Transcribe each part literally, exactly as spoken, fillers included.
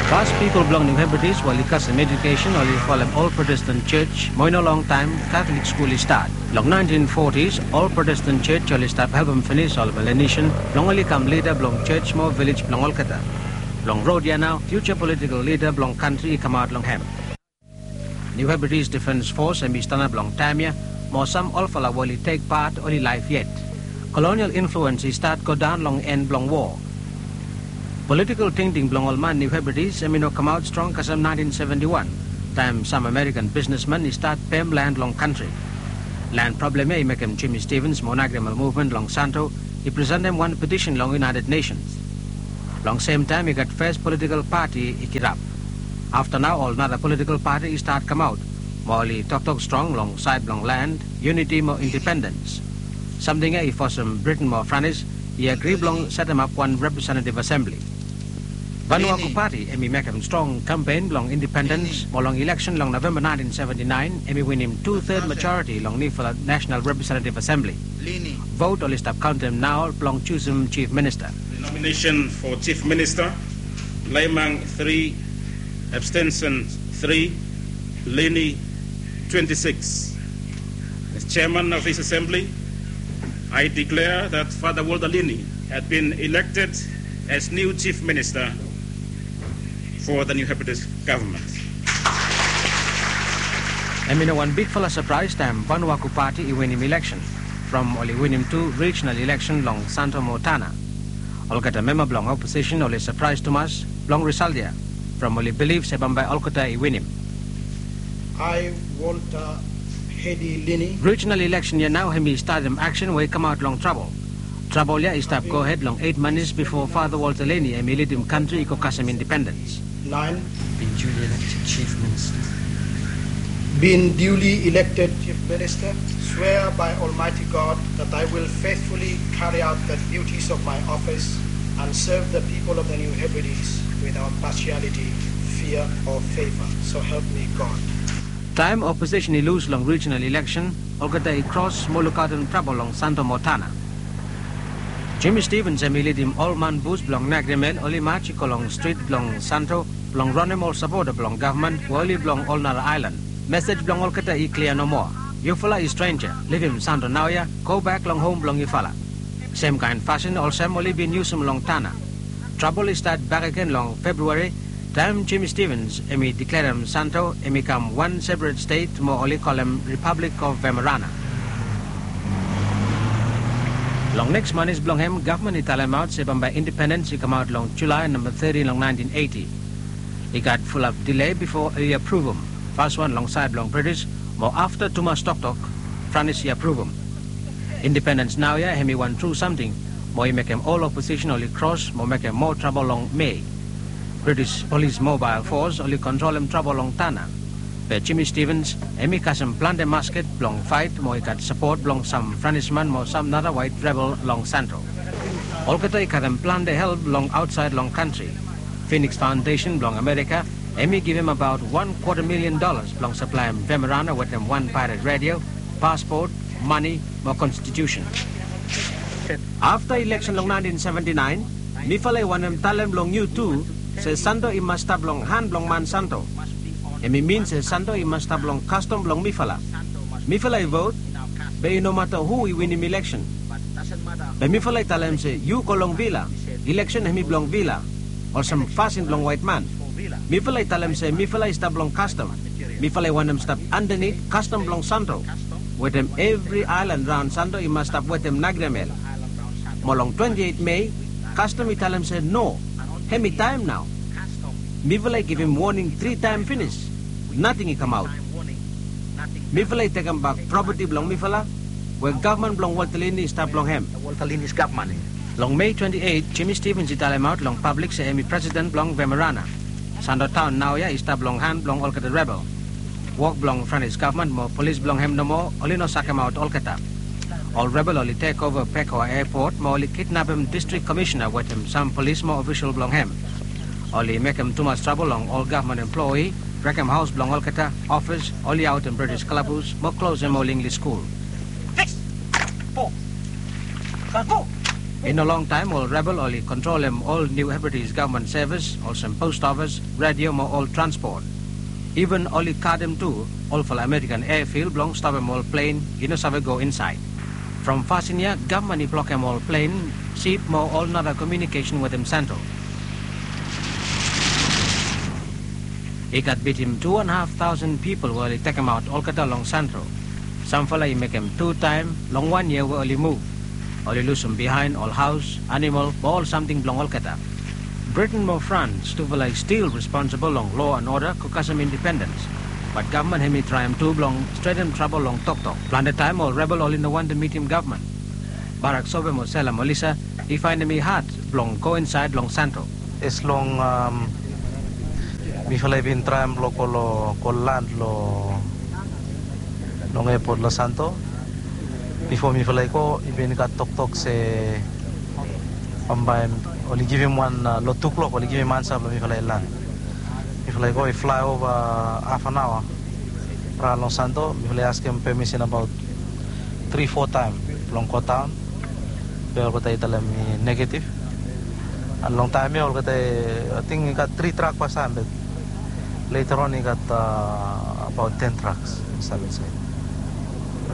Fas pipol blong New Hebrides we oli kasem ejukesen oli folem ol Protestan jos, mo i no longtaem Katolik skul i stat. Long naentin fotis, ol Protestan jos oli stap helpem finis ol Melanesian blong oli kam lida blong jos mo vilej blong olgeta. Long rod ya nao, fiuja politikol lida blong kantri i kamaot long hem. New Hebrides Defense Force hemi stanap long taem ya, mo sam olfala we oli tek pat oli laef yet. Kolonial influens i stat godaon long en blong woa. Politikol tingting blong ol man New Hebrides hemi no kamaot strong kasem naentin seventi wan, taem sam Amerikan bisnesman i stat pem lan long kantri. Lan prablem ya i mekem Jimmy Stevens mo Nagriamel muvmen long Santo i presentem wan petisen long United Nations. Long semtaem i gat fes politikol pati i kirap. Afta nao ol nara politikol pati i stat kamaot, mo oli toktok strong long saed blong lan, yuniti mo indipendens. Samting ya i fosem Briten mo Franis i agri blong setemap wan representetiv asembli. Vanuaku Pati hemi mekem strong kampen blong indipendens, mo long ileksen long Novemba naentin seventi naen hemi winim tu-ted majoriti long nifala Nasenal Representetiv Asembli. Vot oli stap kaontem nao blong jusum Jif Minista. The nomination for Chief Minister, Laimang three, abstention three, Leni twenty-six. As chairman of this assembly, I declare that Father Walter Leni had been elected as new Chief Minister for the New Hebrides government. Hemi no wan bigfala sapraes taem Vanuaku Pati i winim ileksen, from oli winim tu rijinal ileksen long Santo mo Tanna. Olgeta memba blong oposisen oli sapraes tumas blong risal ya, from oli bilif se bambae olgeta i winim. I, Walter Hedi Leni. Rijinal ileksen ya nao hemi statem aksen we i kamaot long trabol. Trabol ya i stap gohed long eit manis bifo Father Walter Leni hemi lidim kantri i go kasem indipendens. Nine. Been duly elected Chief Minister. Been duly elected Chief Minister. Swear by Almighty God that I will faithfully carry out the duties of my office and serve the people of the New Hebrides without partiality, fear or favor. So help me God. Taem oposisen i lus long rijinal ileksen, olgeta i kros mo lukaotem trabol long Santo mo Tanna. Jimmy Stevens hemi lidim ol man bus blong Nagriamel oli maj i go long strit blong Santo blong ronem ol sapota blong gavman we oli blong ol nara aelan. Mesej blong olgeta i klia nomoa. Yufala i strenja, livim Santo naoia, gobak long hom blong yufala. Semkaen fasin olsem oli bin yusum long Tanna. Trabol i stat bakegen long Februari, taem Jimmy Stevens hemi deklarem Santo hemi kam wan seperet stet mo oli kolem Republic of Vemerana. Long neks manis blong hem, gavman i talemaot se bambae indipendens i kamaot long Julae namba teti long naentin eiti. I gat fulap dile bifo oli apruvum. Faswan long saed blong British, mo afta tumas toktok, Franis i apruvum. Indipendens naoia hemi wan tru samting, mo i mekem ol oposisen oli kros mo mekem moa trabol long Mei. British Polis Mobael Fos oli kontrolem trabol long Tanna. Be Jimmy Stevens hemi kasem plante masket blong faet mo i gat sapot blong sam Franisman mo sam nara waet rebel long Santo. Olgeta i karem plante help long aotsaed long kantri. Phoenix Foundation blong Amerika hemi givim abaot wan kwata milian dolas blong saplaem Vemerana wetem wan paered redio, paspot, mane mo konstitusen. Afta ileksen long naentin seventi naen, mifala i wantem talem long yu tu se Santo i mas stap long han blong man Santo. Hemi min se Santo i mas stap long kastom blong mifala. Mifala i vot, be i no mata hu i winim ileksen. Be mifala i talem se yu go long vila, ileksen hemi blong vila, olsem fasin blong waet man. Mifala i talem se mifala i stap long kastom. Mifala i wantem stap andanit kastom blong Santo, wetem evri aelan raon Santo i mas stap wetem Nagriamel. Mo long twenti eit Mei, kastom i talem se no, hemi taem nao. Mifala i givim woning tri taem finis, nating i kamaot. Mifala i tekembak propati blong mifala, we gavman blong Walter Leni i stap long hem. Long Mei twenti eit, Jimmy Stevens i talemaot long pablik se hemi presiden blong Vemerana. Santo taon naoia i stap long han blong olgeta rebel. Wok blong Franis gavman mo polis blong hem nomo oli no sakemaot olgeta. Ol rebel oli tekova Pekoa eapot mo oli kidnapem distrik komisena wetem sam polis mo ofisol blong hem. Oli mekem tumas trabol long ol gavman emploi, brekem haos blong olgeta, ofis, oli aotem British kalabus mo klosem ol Inglis skul. Fix! Po! Kalko! I no longtaem ol rebel oli kontrolem ol New Hebrides gavman sevis, olsem pos ofis, redio mo ol transpot. Iven oli kadem tu olfala Amerikan eafil blong stopem ol plen i no save go insaed. From fasin ya, gavman i blokem ol plen, sip mo ol nara komiunikesen wetem Santo. I gat bitim tu en haf taosen pipol we oli tekemaot olgeta long Santo. Samfala i mekem tu taem long wan yia we oli muv. Oli lusum biaen ol haos, anamol mo ol samting blong olgeta. Briten mo Frans tufala i stil responsibol long loa en oda go kasem indipendens. Bat gavman hemi traem tu blong stretem trabol long toktok. Plante taem ol rebel oli no wantem mitim gavman. Barak Sobe mo Sela Molisa i faenem i had blong go insaed long Santo. As long mifala i bin traem blong go long go land long long epot long Santo. Bifo mifala i go i bin gat toktok se bambae oli givim wan long tu klok oli givim ansa blong mifala i land. Mifala i go i flaeova haf an aoa raon long Santo. Mifala i askem pemisin abaot tri fo taem blong go daon. Be olgeta i talem i negetiv. An long taem ya olgeta i ating i gat tri trak pastaem be leta on i gat abaot ten traks i save se.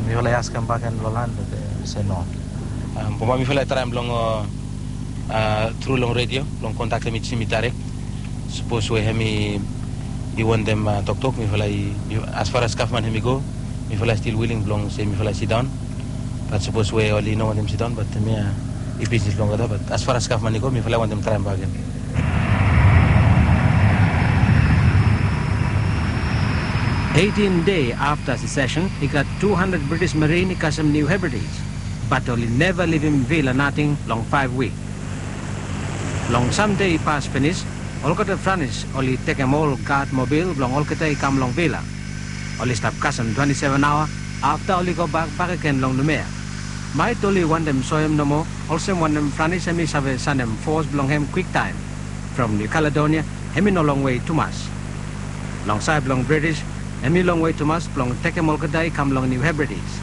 Mifala i askem baken long lan be se no. Bambae mifala i traem blong tru long redio blong kontaktem i simi daerek. Sapos we hemi i wantem toktok mifala i asfar as gavman hemi go mifala i stil wiling blong se mifala i sidaon. Bat sapos we oli no wantem sidaon bat hemia i bisnis blong olgeta bat asfar as gavman i go mifala i wantem traem baken. Eitin dei afta sesesen i gat tu handred British marin i kasem Niu Hebridis. Bat oli neva livim vila nating long faef wik. Long sam dei i pas finis, olgeta Franis oli tekem ol gad mobil blong olgeta i kam long vila. Oli stap kasem twenti seven aoa afta oli gobak bakegen long Numea. Maet oli wantem soem nomo olsem wanem Franis hemi save sanem fos blong hem kwiktaem. From Niu Kaledonia hemi no longwe tumas. Long saed blong British hemi longwe tumas blong tekem olgeta i kam long Niu Hebridis.